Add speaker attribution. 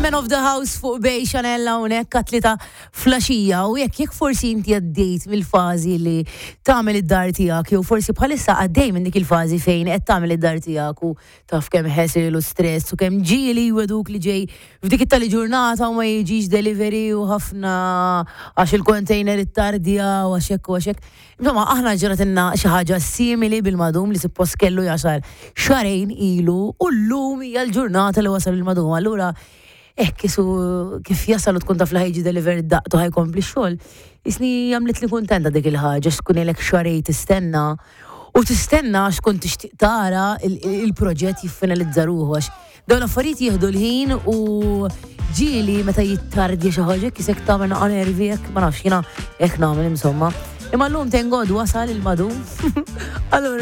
Speaker 1: Man of the House fuq Bay Chanel hawnhekk għat-tlieta flaxija u jekk jekk forsi inti għaddejt mill-fażi li tagħmel id-dar tiegħek jew forsi bħalissa għaddej minn dik il-fażi fejn qed tagħmel id-dar tiegħek u taf kemm ħesil u stress u kemm ġieli jweduk li ġej f'dik it-tali ġurnata u ma jiġix delivery u ħafna għax il-container ittardja u għax hekk u għax hekk. Insomma, aħna ġratilna xi ħaġa simili bil-madum li suppost kellu jasal xahrejn ilu u llum hija l-ġurnata li wasal il-madum. Allura, hekk isu kif jasal u tkun taf li ħajġi delivered daqtu ħajkompli x-xogħol, isni għamlitli kuntenta dik il-ħaġa x'tkun ilek xahrejn tistenna u tistenna għax tkun tixtieq tara il-proġett jiffinalizza ruħu għax Dawn l-affarijiet jieħdu l-ħin u ġieli meta jittardja xi ħaġa kisek tagħmel naqa' nervi hekk ma nafx jiena hekk nagħmel insomma. Imma llum thank God wasal il-madum. Allura